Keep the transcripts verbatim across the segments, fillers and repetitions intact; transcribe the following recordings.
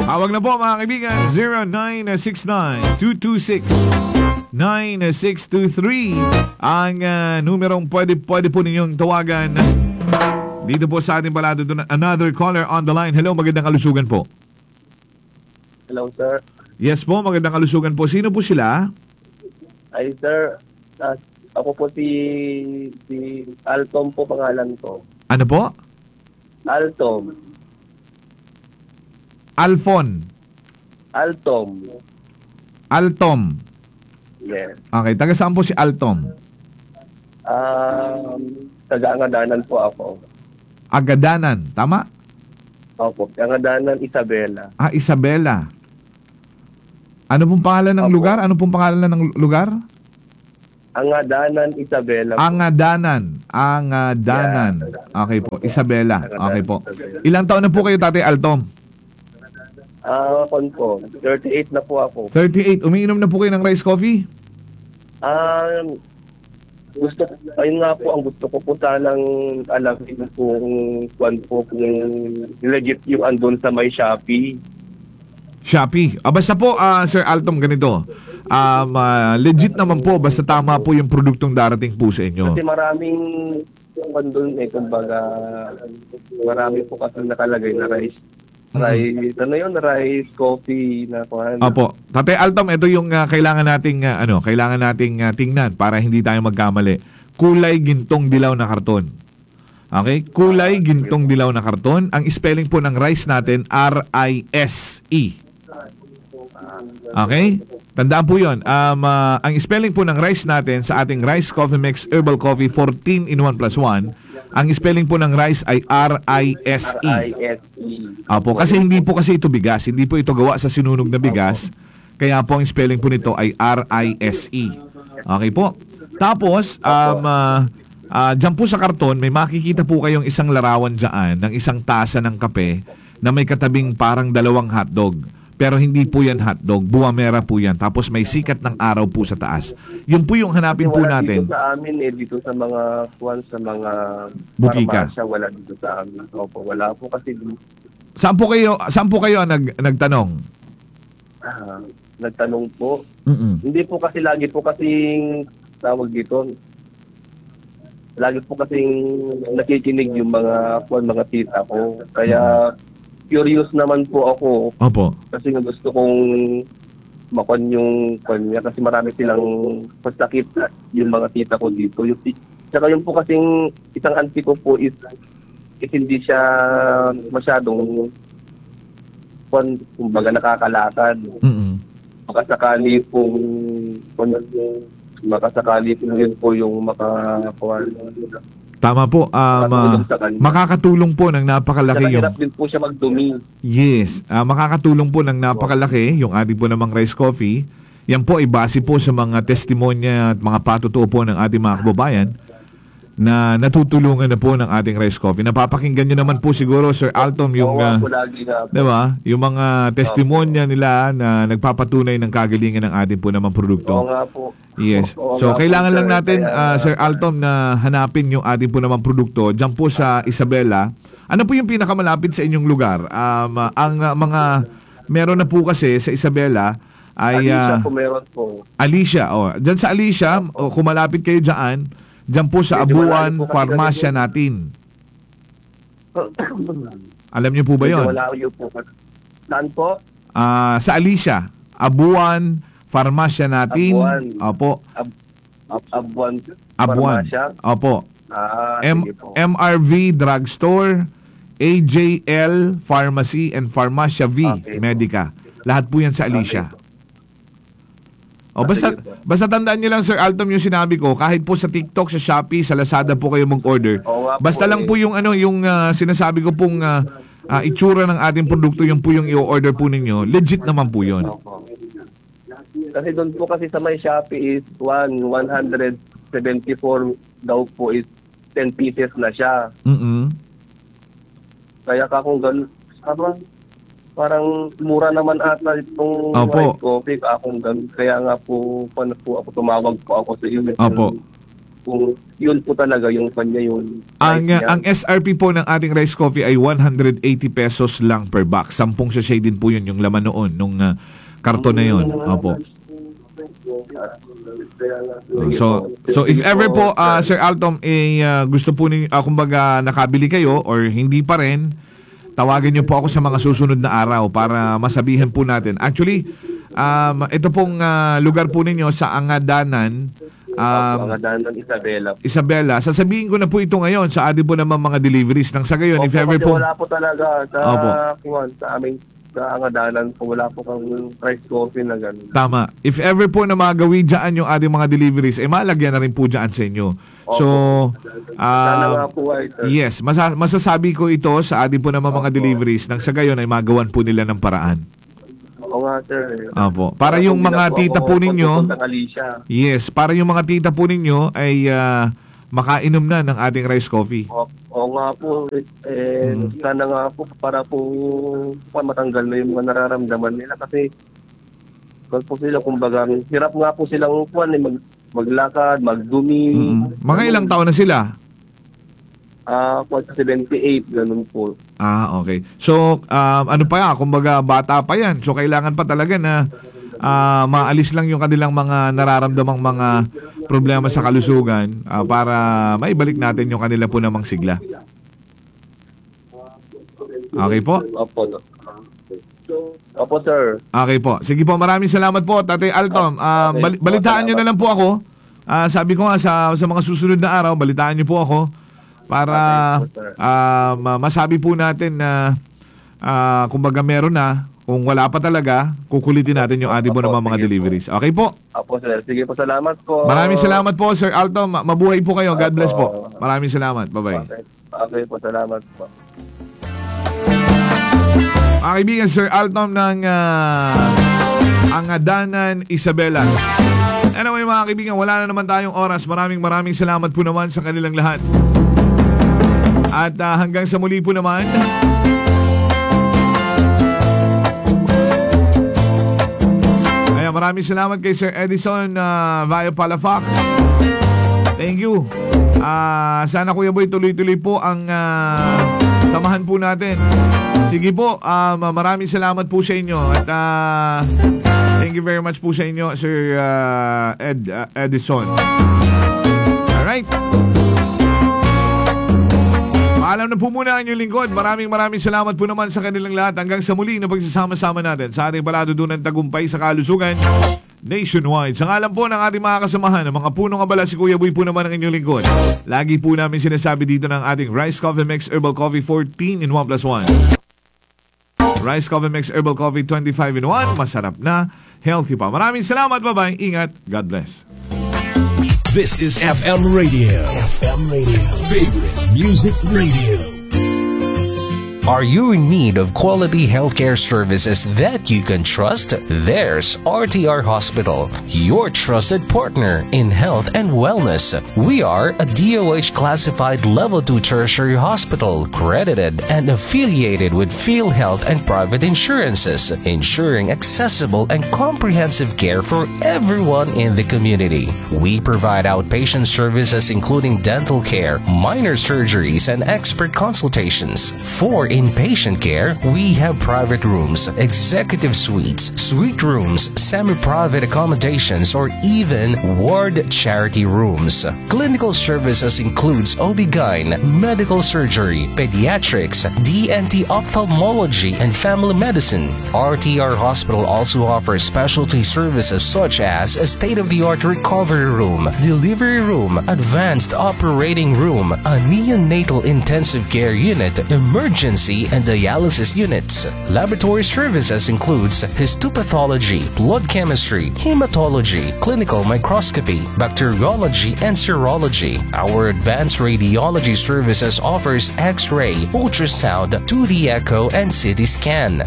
Tawag na po, mga kaibigan, zero nine six nine, two two six, nine six two three ang, ah, numerong pwede, pwede po ninyong tawagan. Dito po sa ating palatuntunan, another caller on the line. Hello, magandang kalusugan po. Hello, sir. Yes po, magandang kalusugan po. Sino po sila? Ay, sir, ah, ako po si, si Alton po pangalan ko. Ano po? Alton. Alfon. Alton. Alton. Yes. Okay, taga saan po si Alton? Um, taga Angadanan po ako. Agadanan, tama? Opo, Angadanan, Isabela. Ah, Isabela. Ano pong pangalan ng lugar? Ano pong pangalan ng lugar? Angadanan, Isabela po. Angadanan. Angadanan. Yeah. Okay po. Isabela. Okay po. Ilang taon na po kayo, Tatay Alton? Ah, kon po, thirty-eight na po ako. Thirty-eight. Umiinom na po kayo ng rice coffee? Ah, gusto, ayun nga po, ang gusto ko po sanang alamin kung kuwan po, kung legit yung andun sa may Shopee. Shopee. Ah, basta po, ah, Sir Alton, ganito. Um, ah, legit naman po, basta tama po yung produktong darating po sa inyo. Kasi maraming kuwan dun eh, kumbaga, marami po kasi nakalagay na rice. Mm. Rice, ano yun? Rice, coffee, na kuwan. Opo. Tatay Alton, ito yung, ah, kailangan nating, ah, ano, kailangan nating, ah, tingnan para hindi tayo magkamali. Kulay gintong dilaw na karton. Okay? Kulay gintong dilaw na karton. Ang spelling po ng rice natin, R I S E. Okay? Tandaan po yun. Um, ah, ang spelling po ng rice natin sa ating Rice Coffee Mix Herbal Coffee fourteen in one plus one, ang spelling po ng rice ay R I S E. R I S E. Opo, kasi hindi po kasi ito bigas. Hindi po ito gawa sa sinunog na bigas. Kaya po ang spelling po nito ay R I S E. Okay po? Tapos, um, ah, ah, dyan po sa karton, may makikita po kayong isang larawan dyan ng isang tasa ng kape na may katabing parang dalawang hotdog. Pero hindi po yan hotdog. Buwamera po yan. Tapos may sikat ng araw po sa taas. Yun po yung hanapin po natin. Kasi wala dito sa amin eh, dito sa mga, kuwan, sa mga Bukika. Parmasya, wala dito sa amin. Opo, wala po kasi dito. Saan po kayo, saan po kayo nag-, nagtanong? Ah, nagtanong po. Mm-mm. Hindi po kasi, lagi po kasing tawag dito, lagi po kasing nakikinig yung mga, kuwan, mga tita ko. Kaya, mm, curious naman po ako. Opo. Kasi nga gusto kong makuan yung kuwan niya kasi marami silang masakit na yung mga tita ko dito. Yung ti-, tsaka yung po kasing isang auntie ko po is, is hindi siya masyadong kuwan, kumbaga nakakalakad. Mm. Makasakali pong, makasakali pong yun po yung makakuha. Tama po, um, ah, makakatulong sa kanya. Makakatulong po ng napakalaki yung... Tsaka hirap din po siya magdumi. Yes, ah, makakatulong po ng napakalaki yung ating po namang rice coffee. Yan po ay base po sa mga testimonya at mga patutuo po ng ating mga kababayan na natutulungan na po ng ating rice coffee. Napapakinggan niyo naman po siguro, Sir Alton, yung, ah, di ba? Yung mga testimonya nila na nagpapatunay ng kagalingan ng ating po namang produkto. Oo nga po. Yes. So, kailangan lang natin, ah, Sir Alton, na hanapin yung ating po namang produkto dyan po sa Isabela. Ano po yung pinakamalapit sa inyong lugar? Um, ah, ang, ah, mga meron na po kasi sa Isabela ay, ah, Alicia po, meron po. Alicia, oh. Dyan sa Alicia, oh, kung malapit kayo dyan, dyan po sa Abuan Farmasya Natin. Alam niyo po ba yun? Medyo malayo po. Saan po? Ah, sa Alicia, Abuan Farmasya Natin. Abuan. Opo. Ab-, Ab-, Abuan Farmasya? Abuan. Opo. Ah, sige po. M R V Drugstore, A J L Pharmacy, and Farmacia V Medica. Okay po. Lahat po yan sa Alicia. Okay po. O, basta, basta tandaan niyo lang, Sir Alton, yung sinabi ko, kahit po sa TikTok, sa Shopee, sa Lazada po kayo mag-order. Oo nga po eh. Basta lang po yung, ano, yung, ah, sinasabi ko pong, ah, ah, itsura ng ating produkto, yun po yung i-order po ninyo, legit naman po yun. Opo. Kasi doon po kasi sa may Shopee is one, one hundred seventy-four daw po is ten pieces na siya. Mm-mm. Kaya ka kung gan-, parang, parang mura naman ata itong white coffee, ka kung gan-, kaya nga po, paano po ako, tumawag po ako sa inyo. Opo. kung yun po talaga yung kanya yun. Ang, Right, uh, yan. ang S R P po ng ating rice coffee ay one hundred eighty pesos lang per box. Sampung sachet din po yun, yung laman noon, nung, uh, karton na yun. Mm. Opo. So, so if ever po, uh, Sir Altom, eh, uh, gusto po ninyo, uh, kumbaga, nakabili kayo or hindi pa rin, tawagan niyo po ako sa mga susunod na araw para masabihan po natin. Actually, um, ito pong, uh, lugar po ninyo sa Angadanan, um, Opo, Angadanan, Isabela. Isabela. Sasabihin ko na po ito ngayon sa atin po naman mga deliveries nang sa gayon, if Opo, ever kasi po. wala po talaga sa, Opo. kuwan, sa amin, sa Angadanan po, wala po kang rice coffee na ganun. Tama. If ever po na magawi dyan yung ating mga deliveries, eh, malagyan na rin po dyan sa inyo. So, Opo. Sana um, nga po ay, sir. yes, masa-, masasabi ko ito sa atin po naman mga Opo. deliveries nang sa gayon ay magawan po nila ng paraan. Oo nga, sir. Opo. Para Para yung kung mga nila po tita ako po ninyo, magpupuntang Alicia. yes, para yung mga tita po ninyo ay, ah, makainom na ng ating rice coffee. O-, oo nga po, eh, Mm. sana nga po para po, pa, matanggal na yung mga nararamdaman nila kasi kung po sila, kumbaga, hirap nga po silang kuwan, eh, mag-, maglakad, magdumi. Mm. Mga Ganun. ilang taon na sila? Ah, kuwan, seventy-eight, ganun po. Ah, okay. So, um, ano pa yan? Kumbaga, bata pa yan. So, kailangan pa talaga na, ah, maalis lang yung kanilang mga nararamdamang mga problema sa kalusugan, ah, para maibalik natin yung kanila po namang sigla. Okay po? Opo, no. Opo, sir. Okay po. Sige po, maraming salamat po, Tatay Altom. Ah, Okay bali-, po, balitaan niyo salamat. na lang po ako. Ah, sabi ko nga, sa, sa mga susunod na araw, balitaan niyo po ako para, Okay po, sir. ah, ma-, masabi po natin na, ah, kumbaga meron na. Kung wala pa talaga, kukulitin natin yung atin po Opo, naman mga sige po. deliveries. Okay po? Opo, sir. Sige po, salamat po. Maraming salamat po, Sir Altom. Ma-, mabuhay po kayo. God Opo. bless po. Maraming salamat. Bye-bye. Okay. Okay po, salamat po. Mga kaibigan, Sir Altom ng, ah, Angadanan, Isabela. Anyway, mga kaibigan, wala na naman tayong oras. Maraming, maraming salamat po naman sa kanilang lahat. At, ah, hanggang sa muli po naman. Ayan, maraming salamat kay Sir Edison, ah, via Palafox. Thank you. Ah, sana, Kuya Boy, tuloy-tuloy po ang, ah, samahan po natin. Sige po, ah, ma-, maraming salamat po sa inyo. At, ah, thank you very much po sa inyo, Sir, ah, Ed, ah, Edison. Alright. Paalam na po muna ang inyong lingkod. Maraming, maraming salamat po naman sa kanilang lahat. Hanggang sa muli na pagsasama-sama natin sa ating palatuntunang tagumpay sa kalusugan nationwide. Sa ngalan po ng ating mga kasamahan, ang mga punong abala, si Kuya Boy po naman ang inyong lingkod. Lagi po namin sinasabi dito ng ating Rice Coffee Mix Herbal Coffee fourteen in one plus one. Rice Coffee Mix Herbal Coffee twenty-five in one. Masarap na, healthy pa. Maraming salamat. Bye-bye. Ingat. God bless. This is F M Radio. F M Radio. Favorite Music Radio. Are you in need of quality healthcare services that you can trust? There's R T R Hospital, your trusted partner in health and wellness. We are a D O H classified level two tertiary hospital, credited and affiliated with PhilHealth and private insurances, ensuring accessible and comprehensive care for everyone in the community. We provide outpatient services including dental care, minor surgeries, and expert consultations. For inpatient care, we have private rooms, executive suites, suite rooms, semi-private accommodations, or even ward charity rooms. Clinical services includes O B-gyn, medical surgery, pediatrics, D N T, ophthalmology, and family medicine. R T R Hospital also offers specialty services such as a state-of-the-art recovery room, delivery room, advanced operating room, a neonatal intensive care unit, emergency and dialysis units. Laboratory services includes histopathology, blood chemistry, hematology, clinical microscopy, bacteriology, and serology. Our advanced radiology services offers X-ray, ultrasound, two D echo, and C T scan.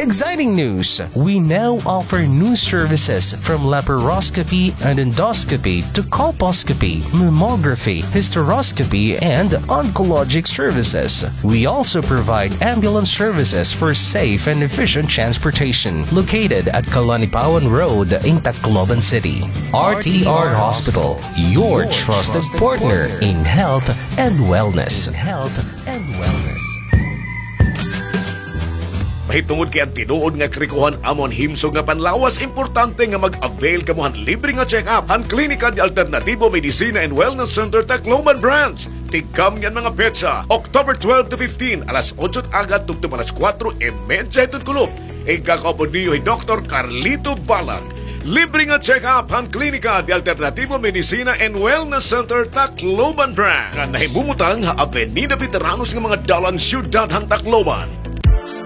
Exciting news! We now offer new services from laparoscopy and endoscopy to colposcopy, mammography, hysteroscopy, and oncologic services. We also provide ambulance services for safe and efficient transportation, located at Kalanipawan Road in Tacloban City. R T R Hospital, your trusted partner in health and wellness. In health and wellness. Mahitungod kay an tinuod nga karikohan amo an himsog nga panlawas, importante nga mag-avail kamo han libre nga check-up han Klinika de Alternativo Medicina and Wellness Center Tacloban Branch. Tigkamni an mga petsa, October twelve to fifteen, alas otso it aga tubtob alas kuwatro y medya hiton kulop. Igkakaupod niyo hi Doktor Carlito Balag. Libre nga check-up han Klinika de Alternativo Medicina and Wellness Center Tacloban Branch, nga nahimumutang ha Avenida Veteranos nga mga dalan, siyudad han Tacloban.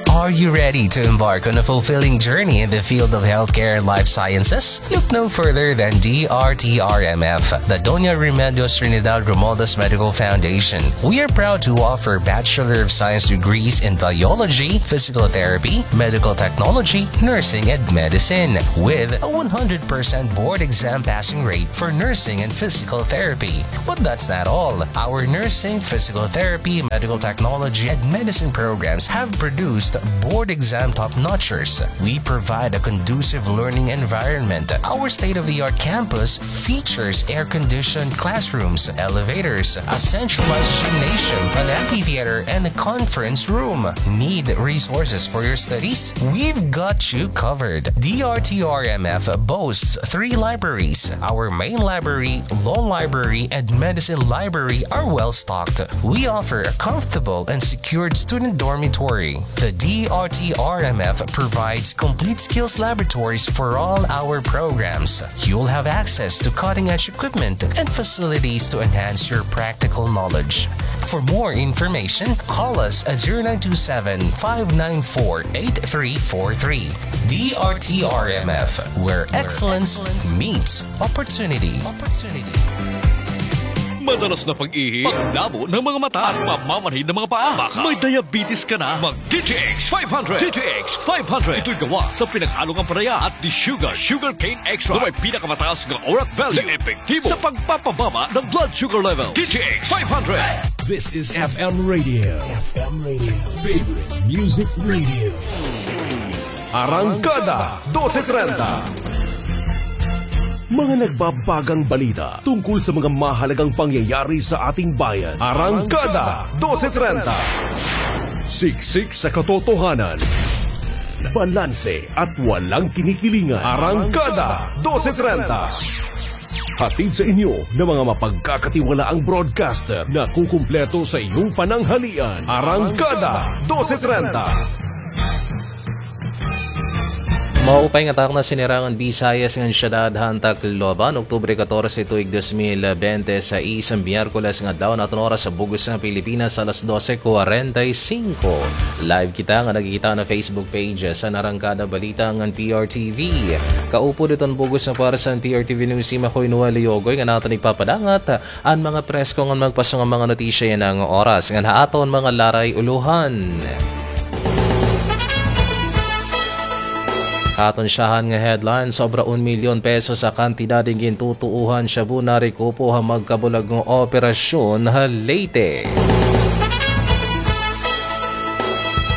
Are you ready to embark on a fulfilling journey in the field of healthcare and life sciences? Look no further than D R T R M F, the Doña Remedios Trinidad Romualdez Medical Foundation. We are proud to offer Bachelor of Science degrees in biology, physical therapy, medical technology, nursing, and medicine, with a one hundred percent board exam passing rate for nursing and physical therapy. But that's not all. Our nursing, physical therapy, medical technology, and medicine programs have produced board exam top-notchers. We provide a conducive learning environment. Our state-of-the-art campus features air-conditioned classrooms, elevators, a centralized gymnasium, an amphitheater, and a conference room. Need resources for your studies? We've got you covered. D R T R M F boasts three libraries. Our main library, law library, and medicine library are well stocked. We offer a comfortable and secured student dormitory. The D R T R M F provides complete skills laboratories for all our programs. You'll have access to cutting-edge equipment and facilities to enhance your practical knowledge. For more information, call us at zero nine two seven, five nine four, eight three four three. D R T R M F, where excellence meets opportunity. Madalas na pag-ihi, pagdabo ng mga mata, at pamamanhid ng mga paa. Baka may diabetes ka na. Mag D T X five hundred. D T X five hundred. Ito'y gawa sa pinag-along ampalaya at desugar, sugarcane extract, na may pinakamataas na ORAC value na epektibo sa pagpapababa ng blood sugar level. D T X five hundred. This is F M Radio. F M Radio. Favorite Music Radio. Arangkada dose trenta. Mga nagbabagang balita tungkol sa mga mahalagang pangyayari sa ating bayan. Arangkada dose trenta. Siksik sa katotohanan, balanse at walang kinikilingan. Arangkada dose trenta. Hatid sa inyo ng mga mapagkakatiwalaang broadcaster na kukumpleto sa iyong pananghalian. Arangkada dose trenta. Maupay nga takna, sinirangan Bisayas ngan syudad han Tacloban, Oktubre katorse, tuig dos mil bente sais, Miyerkules nga adlaw, an aton oras ha bug-os nga Pilipinas, alas dose cuarenta y cinco. Live kita nga nagkikita han Facebook page han Arangkada Balita ngan P R T V. Kaupod hiton bug-os nga pwersa han P R T V News Team, ako hi Noel Leogoy nga aton igpapadangat an mga presko ngan magpaso nga mga notisya yana nga oras. Ngan ha aton mga laray-ulohan, aton syahan nga headline, sobra un milyon pesos ha kantidad hin gintutuohan shabu narekupo ha magkabulag nga operasyon ha Leyte.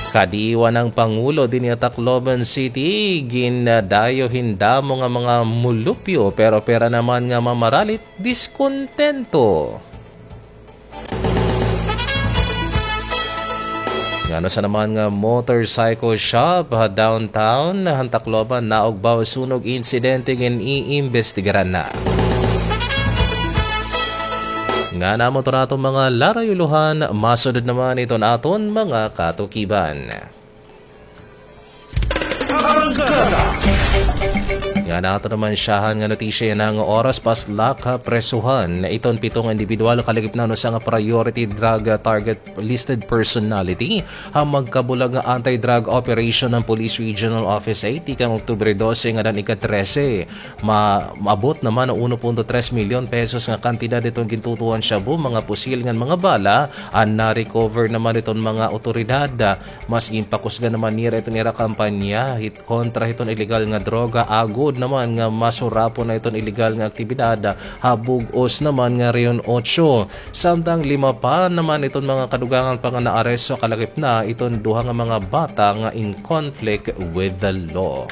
Kadiwa an Pangulo dinhi ha Tacloban City, gindayo hin damo nga mga mulupyo, pero pira naman nga mamaralit diskontento. Ngano sa naman nga motorcycle shop ha downtown han Tacloban naugbaw sunog insidente, gin-iimbestigaran na. Ngan amo ito an aton mga laray-ulohan, masunod naman iton aton mga katukiban. Arangkada. Nga nato naman siyahan nga notisya yana nga oras, paslak ha presohan iton pito nga indibidwal kalagip na usa nga priority drug, ah, target listed personality ha magkabulag nga anti-drug operation han Police Regional Office eight tikang Oktubre dose ngada han ika-trese. Ma-, maabot naman an uno punto tres milyon pesos nga kantidad iton gintutuhan shabu, mga pusil ngan mga bala an na-recover naman iton mga awtoridad. Mas ginpakusgan naman nira iton ira kampanya hit kontra hiton ilegal nga droga, agod naman nga masurapon na iton ilegal nga aktibidad ha bug-os naman nga Rehiyon Otso. Samtang lima pa naman iton mga kadugangan pa nga naaresto, kalakip na iton duha nga mga bata nga in conflict with the law.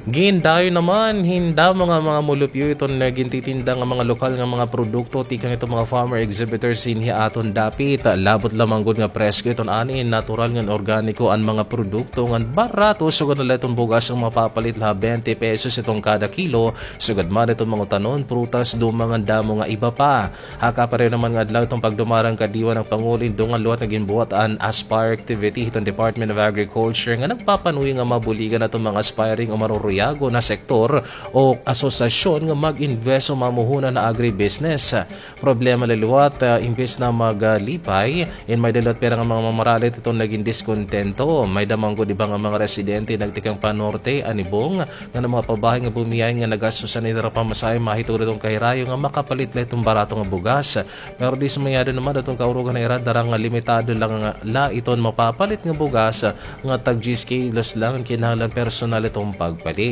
Gindayo naman hin damo nga mga mulupyo iton gintitinda nga mga lokal nga mga produkto tikang iton mga farmer exhibitors dinhi ha aton dapit. Labot lamang gud nga presko iton ani, natural ngan organiko an mga produkto ngan barato, sugad na la iton bugas nga mapapalit la ha bente pesos iton kada kilo, sugad man iton mga utanon, prutas, duma ngan damo nga iba pa. Ha kapareho naman nga adlaw iton pagdumarang kadiwa han Pangulo, in dungan liwat nga ginbuhat an Aspire activity hiton Department of Agriculture nga nagpapanuyo nga mabuligan iton mga aspiring o maruruyagon ha sektor o asosasyon nga mag-invest o mamuhuna ha agribusiness. Problema la liwat, ah, imbes na maglipay, in may-ada liwat pira nga mga mamaralit iton nagin diskontento. May-ada man gud iba nga mga residente nagtikang pa-norte, Anibong, nga mga pabahay nga bumiyahe nga nagastusan hira pamasahe, mahitungod iton kahirayo nga makapalit la iton barato nga bugas. Pero dismayado naman iton kaurugan ha ira, dara nga limitado lang la iton mapapalit nga bugas nga tag diyes kilos lang an kinahanglan personal iton pagpalit.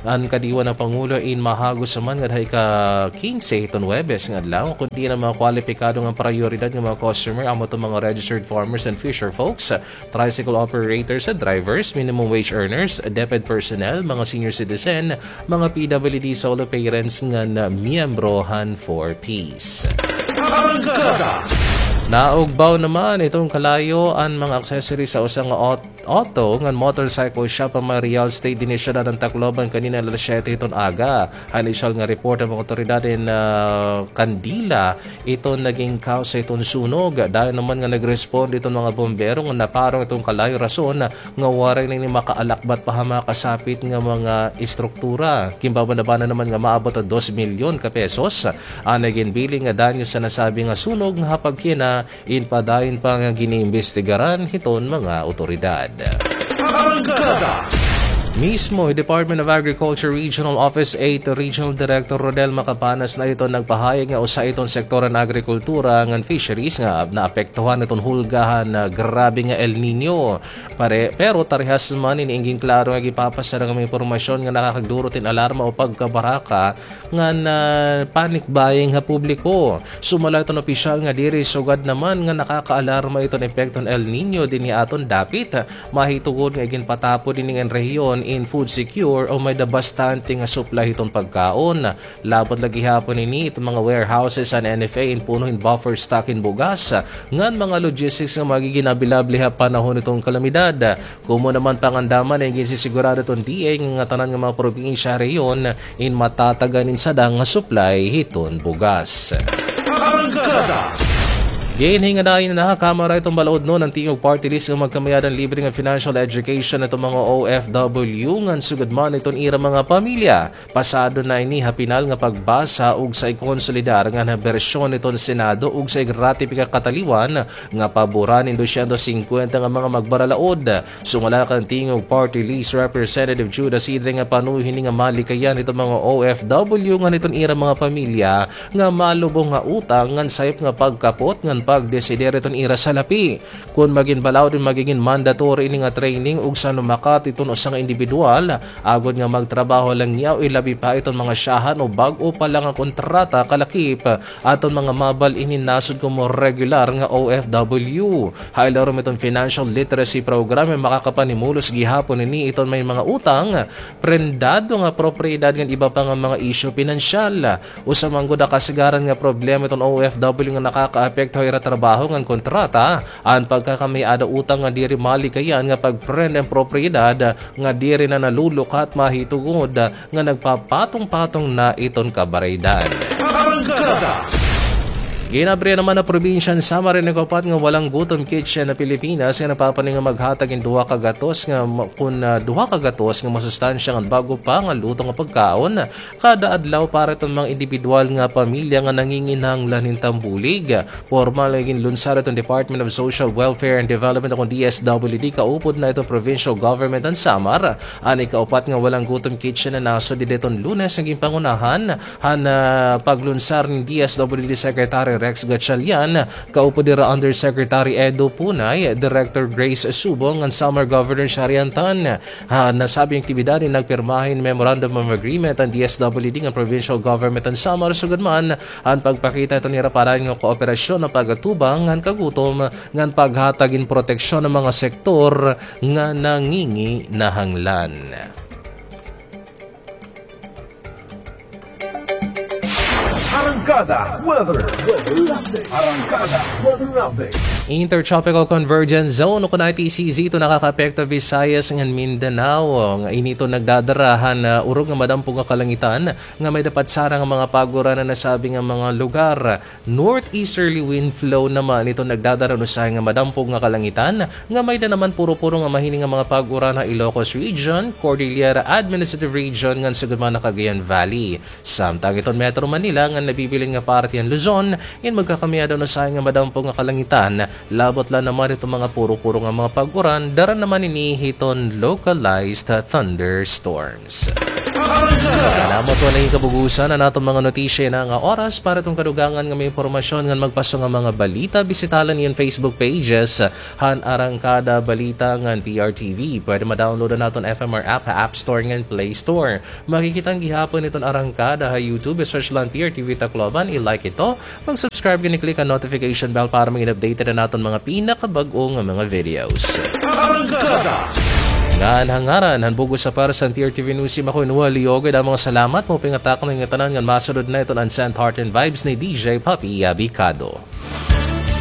An kadiwa han Pangulo in mahagos naman ngada ha ika-kinse hiton Huwebes nga adlaw, kundi an mga kwalipikado nga prayoridad nga mga customer amo iton mga registered farmers and fisher folks, tricycle operators and drivers, minimum wage earners, DepEd personnel, mga senior citizen, mga P W D, solo parents ngan miyembro han Four Ps. Naugbaw naman iton kalayo an mga accessories sa usa nga aut-, auto ngan motorcycle shop ha may real estate dinhi ha syudad han Tacloban kanina alas siyete hiton aga. Ha inisyal nga report han mga awtoridad in, ah, kandila iton nagin cause hiton sunog. Dayon naman nga nag-respond iton mga bombero nga naparong iton kalayo, rason nga waray na ini makaalakbat pa ha mga kasapit nga mga estruktura. Ginbabanabanan naman nga maabot ha dos milyon ka pesos an nagin bilin nga danyo sa nasabi nga sunog nga ha pagkina in padayon pa nga giniimbestigaran hiton mga awtoridad. Mismo hi Department of Agriculture Regional Office eight Regional Director Rodel Macapanas na iton nagpahayag nga usa iton sektor han agrikultura ngan fisheries nga naapektuhan iton hulga han, ah, grabe nga El Niño. Pare-, pero parehas man ini, ginklaro nga gipapasar nga mga impormasyon nga nakakagdurot hin alarma o pagkabaraka ngan, ah, panic buying ha publiko. Sumala iton opisyal nga diri sugad naman nga nakakaalarma iton epekto han El Niño dinhi ha aton dapit. Mahitungod nga iginpatapod ini nga rehiyon in food secure o may-ada bastante nga supply hiton pagkaon. Labot la gihapon ini iton mga warehouses han N F A in puno hin buffer stock hin bugas ngan mga logistics nga magigin available ha panahon hiton kalamidad. Komo naman pangandaman nga ginsisigurado iton D A nga ngatanan nga mga probinsya ha rehiyon in matatagan in sadang nga supply hiton bugas. Ginhingadayon na ha Kamara iton balaod-on han Tingog Party List nga magkamay-ada hin libre nga financial education iton mga O F W ngan sugad man iton ira mga pamilya. Pasado na ini ha pinal nga pagbasa ug sa ikonsolidar ngan ha bersyon iton Senado ug sa igratipika kataliwan nga paboran in dosyentos singkwenta nga mga magbaralaod. Sumala kan Tingog Party List Representative Judas Idre nga panuyo hini nga malikayan hiton mga O F W ngan hiton ira mga pamilya nga malubong nga utang ngan sayop nga pagkapot ngan pagdesider hiton ira salapi. Kon magin balaod, magigin mandatory ini nga training ug sa lumakat iton usa nga indibidwal, agod nga magtrabaho la niya o ilabi pa iton mga syahan o bag-o pa la nga kontrata kalakip aton mga mabal-in hin nasod komo regular nga O F W. Ha ilarom iton financial literacy program, makakapanimulos gihapon ini iton may mga utang, prendado nga propiedad ngan iba pa nga mga isyu pinansyal. Usa man gud ha kasagaran nga problema iton O F W nga nakakaapekto ha ira trabaho ngan kontrata, an pagkakamay-ada utang nga diri malikayan nga pagprenda hin propiedad nga diri na nalulukat mahitungod nga nagpapatong-patong na iton kabaraydan. Ginabrihan naman an probinsya han Samar ini kaupat nga Walang Gutom Kitchen ha Pilipinas nga nagpapaningkamot nga maghatag hin duha ka gatos nga ma-, kun, ah, duha ka gatos nga masustansya ngan bag-o pa nga luto nga pagkaon kada adlaw para hiton mga indibidwal nga pamilya nga nanginginahanglan hin tambulig. Pormal nga ginlunsar hiton Department of Social Welfare and Development o kon D S W D kaupod na hiton Provincial Government han Samar an ikaupat nga Walang Gutom Kitchen nga nasod dida hiton Lunes nga ginpangunahan han, ah, paglunsar ni D S W D Secretary Rex Gatchalian, kaupod hira Undersecretary Edo Punay, Director Grace Subong, ngan Samar Governor Sharian Tan. Han nasabing aktibidad nagpirma hin Memorandum of Agreement an D S W D ngan Provincial Government han Samar sugad man han pagpakita hiton hira padayon nga kooperasyon han pag-atubang han kagutom ngan paghatag hin proteksyon han mga sektor nga nanginginahanglan. Arangkada Weather. Arangkada Weather Update. Intertropical Convergence Zone o kon I T C Z ito nakakaapekto Visayas ngan Mindanao. Nga ini ito nagdadara han, ah, urog nga madampog nga kalangitan nga may-ada patsara nga mga pag-uran han nasabi nga mga lugar. Northeasterly wind flow naman ito nagdadara han usahay nga madampog nga kalangitan nga may-ada naman puro-puro nga mahining nga mga pag-uran ha Ilocos Region, Cordillera Administrative Region ngan sugad man ha Cagayan Valley. Samtang iton Metro Manila ngan nabibilin nga parte han Luzon, in magkakamay-ada han usahay nga madampog nga kalangitan, labot la naman iton mga puro-puro nga mga pag-uran, dara naman ini hiton localized thunderstorm. Salamat po na kabugusan an aton mga notisya yana nga oras. Para hiton kadugangan nga mga impormasyon ngan magpaso nga mga balita, bisita la niyo an Facebook pages han Arangkada Balita ngan P R T V. Pwede ma-download an aton F M R app ha App Store ngan Play Store. Makikita an gihapon hiton Arangkada ha YouTube. I-search la an P R T V Tacloban, i-like ito. Mag-subscribe ngan i-click an notification bell para maging updated an aton mga pinakabag-o nga mga videos. Ngan ha ngaran han bug-os nga pares han P R T V News Team, ako in Wally Ogoy, damo nga salamat. Maupay nga takna niyo ngatanan ngan masunod na iton Unsent Heart and Vibes ni D J Papi Abicado.